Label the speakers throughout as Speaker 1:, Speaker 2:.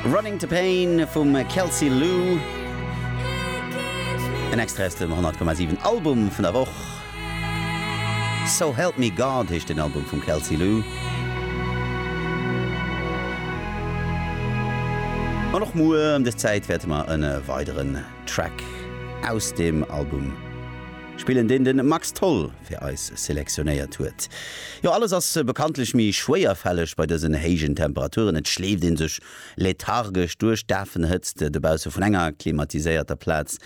Speaker 1: Running to Pain vum Kelsey Lu. En Extrait aus dem 100,7 Album vun der Woch. So Help Me God heescht den Album vum Kelsey Lu. An och muer ëm des Zäit wäerte mer en weideren Track aus deem Album spillen, deen de Max Tholl fir eis selektionéiert huet. Jo, alles ass bekanntlech méi schwéierfälleg bei dësen héijen Temperaturen. Et schleeft ee sech lethargesch duerch d'Afenhëtzt dobausse vun enger klimatiséierter Plaz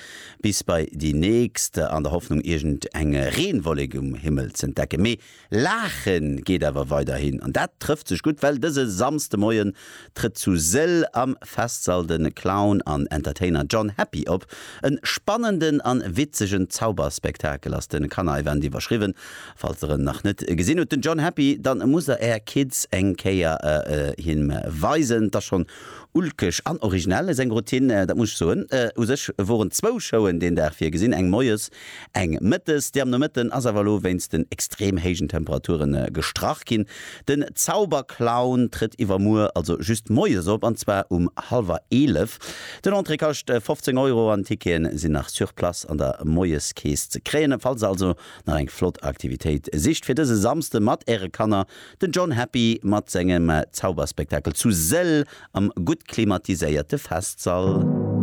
Speaker 1: bis bei déi nächst, an der Hoffnung iergend eng Reenwollek um Himmel z'entdecken. Mee Laache geet awer weiderhin an dat trëfft sech gutt, well dëse Samsdemoien trëtt zu Sëll am Festsall de Clown an Entertainer John Happy op. En spannenden an witzegen Zauberspektakel ass de Kannerevent iwwerschriwwen. Falls der en nach net gesinn hutt, den John Happy, dann musst der är Kids eng Kéier him weisen. 't ass schonn Ulkeg an originell seng Routine, dat muss ech soen. U sech woren zwou Showen deen Dag virgesinn, eng moies, eng mëttes. Déi am Nomëtten ass awer elo wéinst den extrem héijen Temperature gestrach ginn. Den Zauberclown trëtt iwwermuer also just moies op, an zwar um hallwer 11. Den Entrée kascht 15 Euro an Ticketen sinn nach sur place an der Moieskeess ze kréien. Falls der also nach eng flott Aktivitéit sicht fir dëse Samsde mat äre Kanner, Den John Happy mat sengem Zauberspektakel zu Sëll am gutt klimatiséierte Festsall.